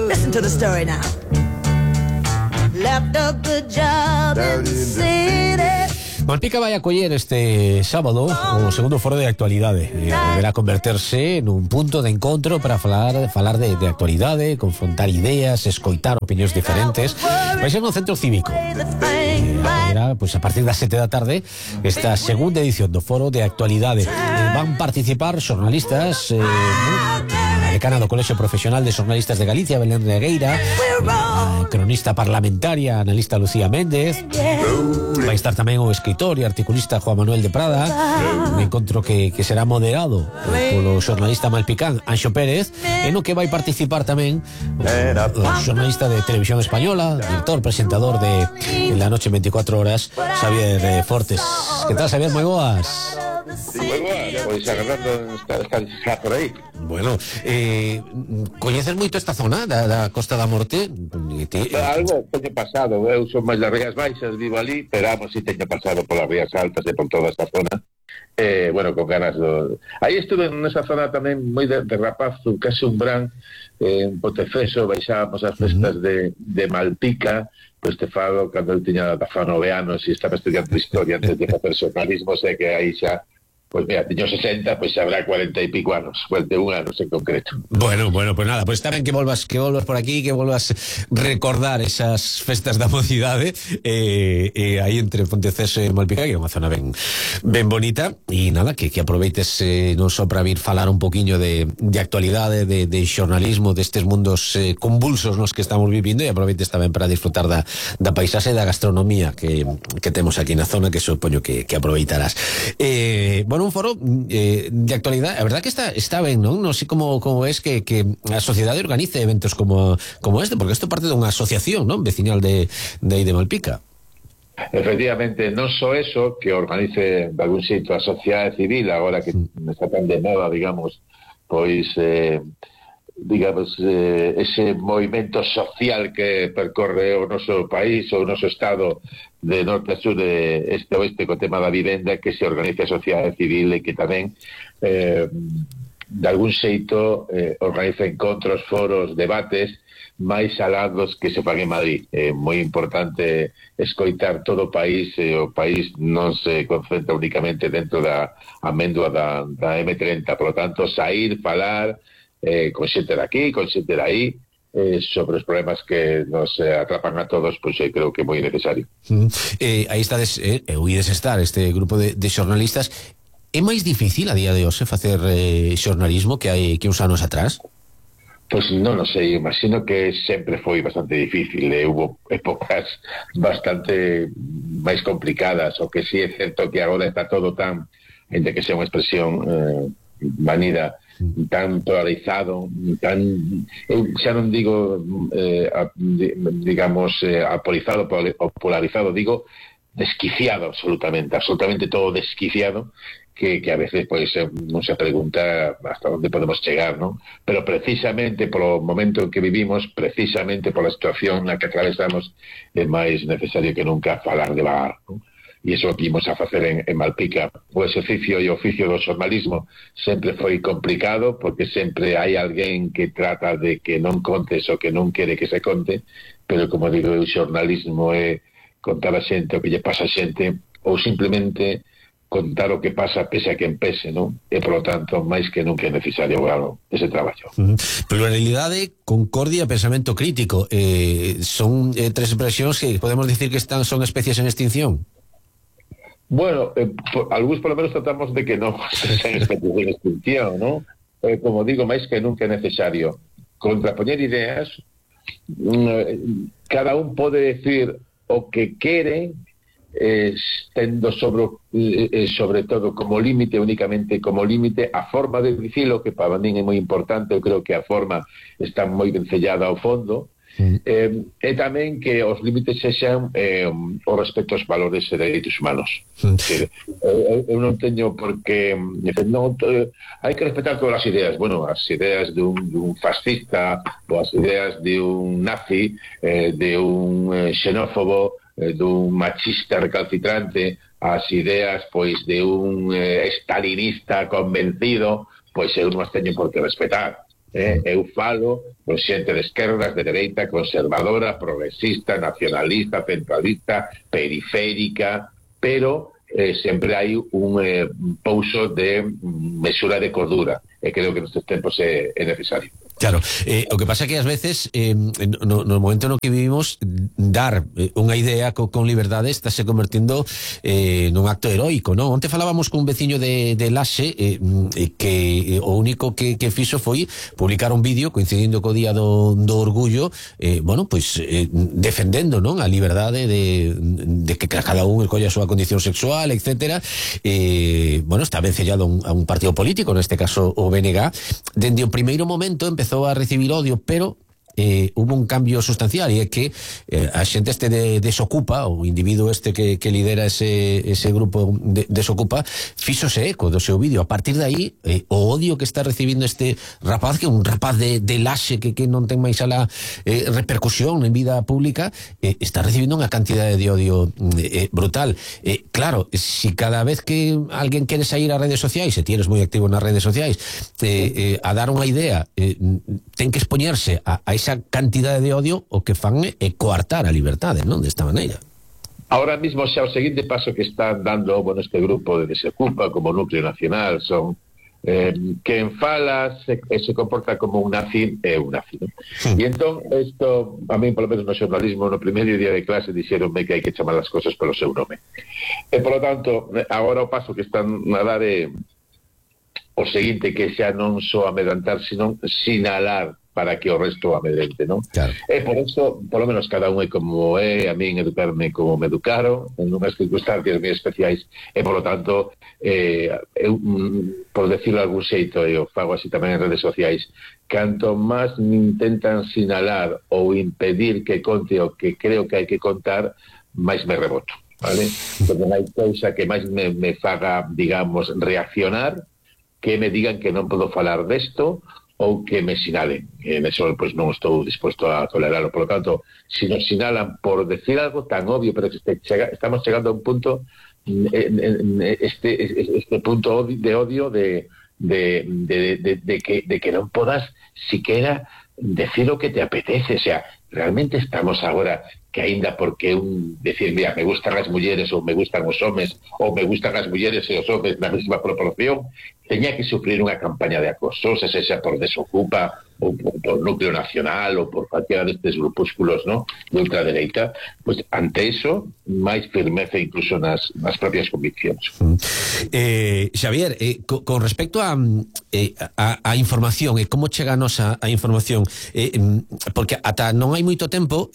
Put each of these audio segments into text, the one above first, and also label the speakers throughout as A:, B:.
A: Listen to the story now. Left a good job in the city.
B: Malpica vai acoller este sábado o segundo foro de actualidade. Deberá converterse nun punto de encontro para falar de actualidade, confrontar ideas, escoitar opinións diferentes. Vai ser no centro cívico. Haberá, pues, a partir das 7 da tarde, esta segunda edición do foro de actualidade. Van participar xornalistas, a decana do Colexio Profesional de Xornalistas de Galicia, Belén Regueira, a cronista parlamentaria, analista Lucía Méndez, vai estar tamén o escritor e articulista Juan Manuel de Prada, un encontro que será moderado polo xornalista malpicán Anxo Pérez, e no que vai participar tamén o xornalista de Televisión Española, director, presentador de La Noche en 24 Horas, Xavier Fortes. Que tal, Xavier? Moi boas.
C: Sí, moi boas, pois agarrando está por aí.
B: Bueno, coñeces moito esta zona da Costa da Morte?
C: Algo teño pasado, eu son máis das Rías Baixas, vivo ali, pero si teño pasado polas Rías Altas e por toda esta zona. Bueno, con ganas aí estuve nesa zona tamén moi de rapazo, case un brán, en Potefeso, baixábamos as festas de Malpica, pois te falo, cando eu tiña 19 anos e estaba estudiando historia antes de facer xornalismo, sei que aí xa, pois mira, tiño 60, pois habrá 40 e pico anos, 41 anos en concreto.
B: Bueno, pues nada, pues tamén que volvas por aquí, que volvas recordar esas festas da mocidade, aí entre Ponteceso e Malpica, que é unha zona ben bonita, e nada, que aproveites non só para vir falar un poquinho de actualidade, de xornalismo, destes mundos convulsos nos que estamos vivindo, e aproveites tamén para disfrutar da paisaxe e da gastronomía que temos aquí na zona, que supoño que aproveitarás. Bueno, un foro de actualidade, a verdad que está ben, non? Non sei como es que a sociedade organice eventos como este, porque isto parte dunha asociación, non? Veciñal de Malpica.
C: Efectivamente, non só eso, que organice de algún xeito a sociedade civil, agora que está tan de moda, digamos, pois ese movimento social que percorre o noso país, o noso estado de norte a sur, de este a oeste, co tema da vivenda, que se organice a sociedade civil e que tamén de algún xeito organiza encontros, foros, debates máis alados que se fan en Madrid. É moi importante escoitar todo o país, e o país non se concentra únicamente dentro da amendua da M30, por lo tanto, sair, falar con xente de aquí, con xente de aí, sobre os problemas que nos atrapan a todos, pois eu creo que é moi necesario.
B: Aí estades, ides estar este grupo de xornalistas. É máis difícil a día de hoxe facer xornalismo que hai uns anos atrás?
C: Pois non sei, imagino que sempre foi bastante difícil, hubo épocas bastante máis complicadas, o que sí é certo que agora está todo tan, entre que sea unha expresión vanida, tan polarizado, tan, xa non digo digamos apolizado ou polarizado, digo desquiciado, absolutamente todo desquiciado, que a veces pois non se pregunta hasta onde podemos chegar, non? Pero precisamente polo momento en que vivimos, precisamente pola situación na que atravesamos, é máis necesario que nunca falar de vagar, non? E iso que imos a facer en Malpica. O exercicio e o oficio do xornalismo sempre foi complicado, porque sempre hai alguén que trata de que non contes o que non quere que se conte, pero como digo, o xornalismo é contar a xente o que lle pasa a xente, ou simplemente contar o que pasa pese a quen pese, non? E, por lo tanto, máis que nunca é necesario ese traballo.
B: Pluralidade, concordia, pensamento crítico, son tres expresións que podemos dicir que son especies en extinción.
C: Bueno, algúns por lo menos tratamos de que non sean especies en extinción, non? Como digo, máis que nunca é necesario contrapoñer ideas, cada un pode decir o que quere, tendo sobre todo como límite, únicamente como límite, a forma de dicilo, que para min é moi importante. Eu creo que a forma está moi ben sellada ao fondo, e tamén que os límites sexan o respecto aos valores e dereitos humanos. Eu non teño por que hai que respetar todas as ideas. Bueno, as ideas de un fascista, ou as ideas de un nazi, de un xenófobo, dun machista recalcitrante, as ideas pois de un stalinista convencido, pois eu non as teño por que respetar. Eu falo con xente de esquerdas, de dereita, conservadora, progresista, nacionalista, centralista, periférica, pero sempre hai un pouso de mesura de cordura, e creo que nestes tempos é necesario.
B: Claro, o que pasa é que ás veces no momento no que vivimos dar unha idea con liberdade está se convertindo nun acto heroico, non? Onte falábamos con un veciño de Laxe que o único que fixo foi publicar un vídeo coincidindo co día do orgullo, bueno, pois defendendo, non, a liberdade de que cada un escolla a súa condición sexual, etcétera. Bueno, está vencellado a un partido político, neste caso o BNG. Dende o primeiro momento empezou a recibir odio, pero hubo un cambio sustancial, e é que a xente desocupa, o individuo que lidera ese grupo desocupa, fíxose eco do seu vídeo. A partir de aí, o odio que está recibindo este rapaz, que é un rapaz de Laxe que non ten máis ala repercusión en vida pública, está recibindo unha cantidade de odio brutal. Claro, si cada vez que alguén quere sair ás redes sociais, se tienes moi activo nas redes sociais, a dar unha idea, ten que expoñerse a esa cantidade de odio, o que fan é coartar a liberdade, non? Desta maneira.
C: Ahora mismo xa o seguinte paso que están dando este grupo de Desocupa como núcleo nacional son quen fala se comporta como un nazi é un nazi, ¿no? E entón isto, a mí polo menos no xornalismo no primeiro día de clase dixeronme que hai que chamar as cosas polo seu nome, e polo tanto agora o paso que están a dar é o seguinte, que xa non só amedrentar, sino sinalar para que o resto amedrente, non? Claro. E por eso, por lo menos cada un é como é, a min educarme como me educaron, en unhas circunstancias moi especiais, e por lo tanto, eu, por decirlo de algún xeito, eu fago así tamén en redes sociais, canto máis me intentan sinalar ou impedir que conte o que creo que hai que contar, máis me reboto, vale? Porque non hai cousa que máis me faga, digamos, reaccionar, que me digan que non podo falar desto, ou que me sinalen. En eso pues non estou dispuesto a tolerarlo. Por lo tanto, si nos sinalan por decir algo tan obvio, pero que estamos chegando a un punto, este punto de odio de que non podas siquiera decir o que te apetece. O sea, realmente estamos agora que aínda porque decir, mira, me gustan as mulleres ou me gustan os homes, ou me gustan as mulleres e os homes na mesma proporción, teña que sufrir unha campaña de acoso, se xa por Desocupa ou por Núcleo Nacional ou por calquera destes grupúsculos, ¿no?, de ultradereita. Pues ante eso, máis firmeza incluso nas propias conviccións.
B: Xavier, con respecto a información e como cheganos a información, porque ata non hai moito tempo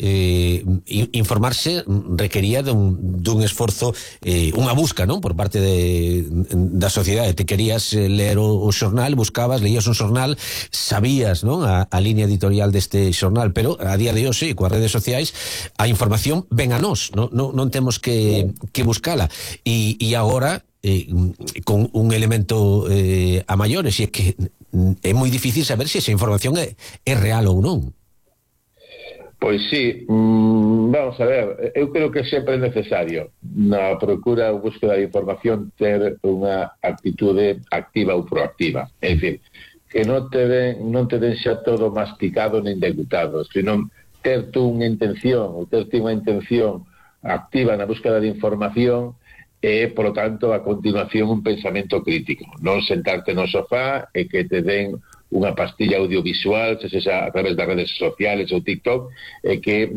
B: informarse requería dun esforzo, unha busca, non, por parte da sociedade. Te querías ler o xornal, buscabas, leías un xornal, sabías, non, a línea editorial deste xornal, pero a día de hoxe, coas redes sociais, a información ven a nós, non temos que buscala, e agora con un elemento a maiores, e é que é moi difícil saber se esa información é real ou non.
C: Pois sí, vamos a ver, eu creo que sempre é necesario na procura ou búsqueda de información ter unha actitude activa ou proactiva, é dicir, que non te den xa todo masticado nin degutado, sino ter tú unha intención ou ter tú unha intención activa na búsqueda de información e, por lo tanto, a continuación un pensamento crítico, non sentarte no sofá e que te den unha pastilla audiovisual, se xa a través das redes sociales ou TikTok, e que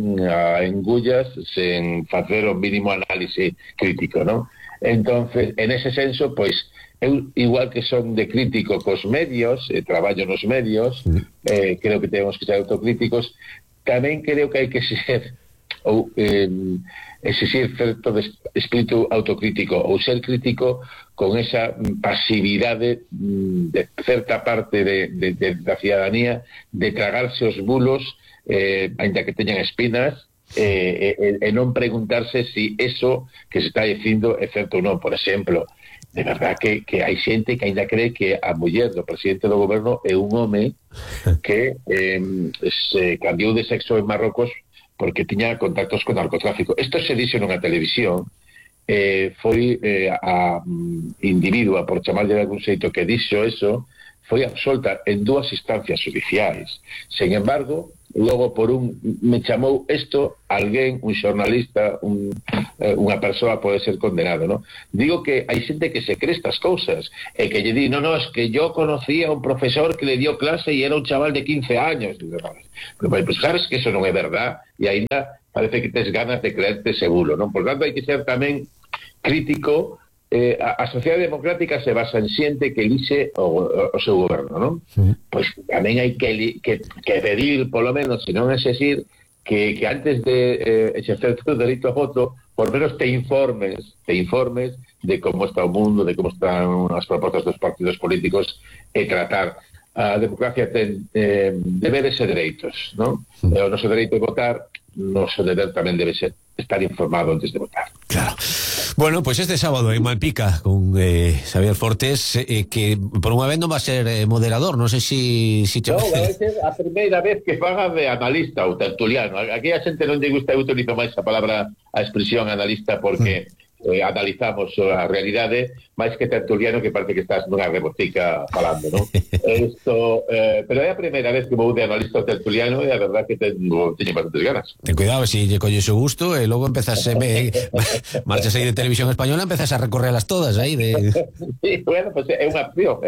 C: engullas sen facer o mínimo análise crítico, non? Entonces, en ese senso, pois, eu, igual que son de crítico cos medios, traballo nos medios, creo que temos que ser autocríticos, tamén creo que hai que ser ou exigir certo espírito autocrítico ou ser crítico con esa pasividade de certa parte da ciudadanía de tragarse os bulos ainda que teñan espinas e non preguntarse si eso que se está dicindo é certo ou non. Por exemplo, de verdad que hai xente que ainda cree que a muller do presidente do goberno é un home que se cambiou de sexo en Marrocos porque tiña contactos con narcotráfico. Isto se dixo nunha televisión, foi a individua, por chamarlle de algún xeito, que dixo eso, foi absolta en 2 instancias judiciais. Sen embargo, logo me chamou isto alguén, un xornalista, unha persoa pode ser condenado, non? Digo que hai xente que se cree estas cousas e que lle di, no, es que yo conocía a un profesor que le dio clase e era un chaval de 15 años. Pero pues, sabes que eso non é verdad e ainda parece que tes ganas de creerte seguro, non? Por tanto, hai que ser tamén crítico. A sociedade democrática se basa en xente que elixe o seu goberno, non? Sí. Pois tamén hai que pedir, polo menos, se non exigir, que antes de exercer o dereito a voto, por menos te informes de como está o mundo, de como están as propostas dos partidos políticos, e tratar. A democracia ten deberes e dereitos, non? Sí. O noso dereito de votar, noso deber tamén debe ser estar informado antes de votar.
B: Claro. Bueno, pues este sábado en Malpica con Xavier Fortes, que por unha vez non va a ser moderador, non sei si
C: No, vai ser a primeira vez que faga de analista ou tertuliano. Aquí a xente non lle gusta, eu utilizo máis a expresión analista porque analizamos a realidade, máis que tertuliano, que parece que estás nunha rebotica falando, non? Pero é a primeira vez que vou de analista ou tertuliano e a verdad que teño bastantes ganas.
B: Ten cuidado, se lle colles o gusto e logo empezas marchas aí de Televisión Española, empezas a recorrelas todas aí de...
C: Sí, bueno, pues é unha opción.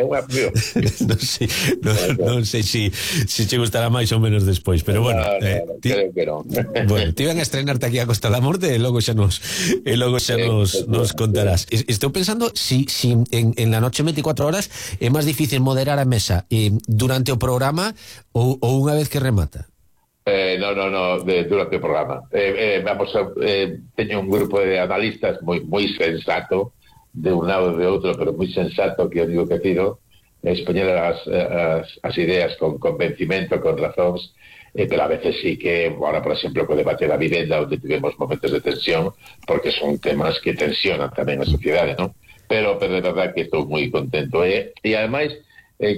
B: Non sei se che gustará máis ou menos despois, pero bueno,
C: creo que non.
B: Bueno, te iban a estrenarte aquí a Costa da Morte e logo xa nos contarás. Estou pensando si en la noche 24 horas é máis difícil moderar a mesa durante o programa ou unha vez que remata.
C: No, durante o programa. Teño un grupo de analistas moi sensato, de un lado e de outro, pero moi sensato, que eu digo que pido, expoñer as ideas con convencimento, con razóns, pero a veces sí que, ahora por exemplo, co debate da vivenda, onde tivemos momentos de tensión, porque son temas que tensionan tamén a sociedade, non? Pero de verdad que estou moi contento. E ademais,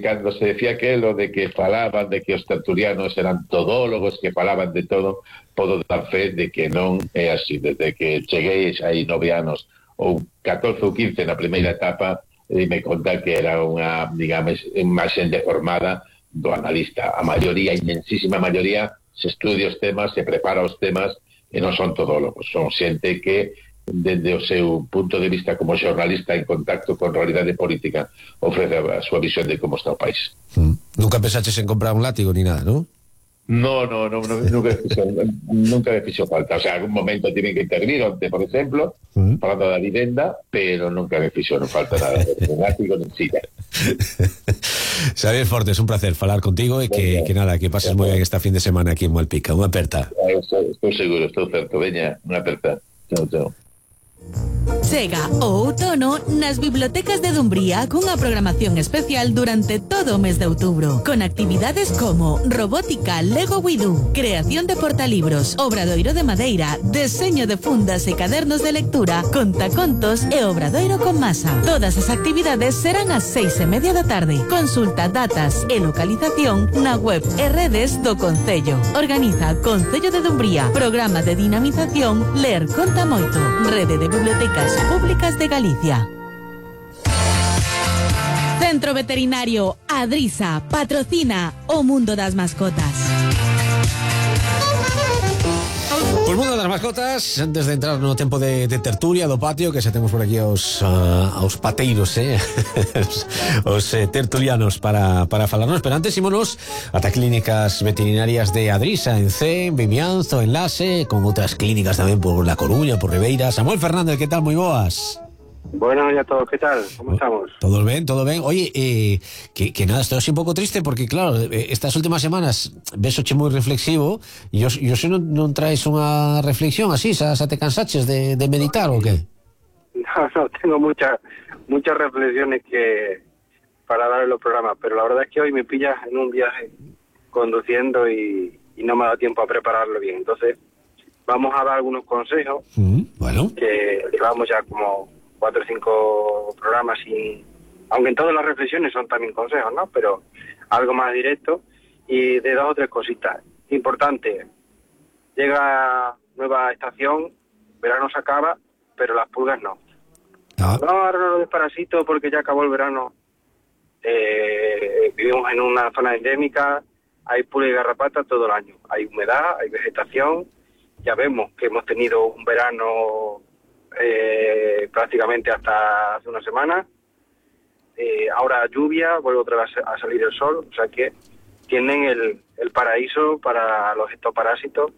C: cando se decía aquelo de que falaban de que os tertulianos eran todólogos, que falaban de todo, podo dar fe de que non é así. Desde que cheguei aí 9 anos, ou 14 ou 15 na primeira etapa, me conta que era unha, digamos, imaxen deformada do analista. A maioría, a inmensísima maioría, se estudia os temas, se prepara os temas, e non son todólogos, son xente que dende o seu punto de vista como xornalista en contacto con realidade política ofrece a súa visión de como está o país.
B: Nunca pensaches en comprar un látigo ni nada, non?
C: No, nunca me fixo falta. O sea, algún momento tienen que intervenir, onde, por exemplo, falando da vivenda, pero nunca me fixo, non falta nada. Un látigo non silla.
B: Xavier Fortes, un placer falar contigo e que nada, que pases moi ben esta fin de semana aquí en Malpica. Unha aperta.
C: Estou seguro, estou certo. Veña, unha aperta. Chao.
A: Chega o outono nas bibliotecas de Dumbría cunha programación especial durante todo o mes de outubro, con actividades como robótica Lego Widú, creación de portalibros, obradoiro de madeira, deseño de fundas e cadernos de lectura, contacontos e obradoiro con masa. Todas as actividades serán ás 6:30 da tarde. Consulta datas e localización na web e redes do Concello. Organiza Concello de Dumbría, programa de dinamización Ler Conta Moito, rede de bibliotecas públicas de Galicia. Centro Veterinario Adrisa patrocina o mundo das mascotas.
B: Pues mundo das mascotas, antes de entrar no tempo de tertulia do patio, que xa temos por aquí aos pateiros, os tertulianos para falarnos, pero antes ímonos ata clínicas veterinarias de Adrisa, en Cee, en Vimianzo, en Lase, con outras clínicas tamén por La Coruña, por Ribeira. Samuel Fernández, que tal? Moi boas.
D: Buenos días a todos, ¿qué tal? ¿Cómo estamos?
B: Todo bien. Oye, que nada, estoy así un pouco triste porque, claro, estas últimas semanas vesoche moi reflexivo e yo se non traes unha reflexión así, xa te cansaches de meditar ou que?
D: No, tengo muchas reflexiones que para dar en los programas, pero la verdad es que hoy me pillas en un viaje conduciendo y no me ha dado tiempo a prepararlo bien. Entonces, vamos a dar algunos consejos
B: bueno,
D: que llevamos ya como 4 o 5 programas, aunque en todas las reflexiones son también consejos, ¿no? Pero algo más directo y de 2 o 3 cositas. Importante, llega nueva estación, verano se acaba, pero las pulgas no. No, ahora no lo desparasito porque ya acabó el verano. vivimos en una zona endémica, hay pulga y garrapata todo el año, hay humedad, hay vegetación, ya vemos que hemos tenido un verano prácticamente hasta hace una semana, ahora lluvia, vuelve otra vez a salir el sol, o sea que tienen el paraíso para los ectoparásitos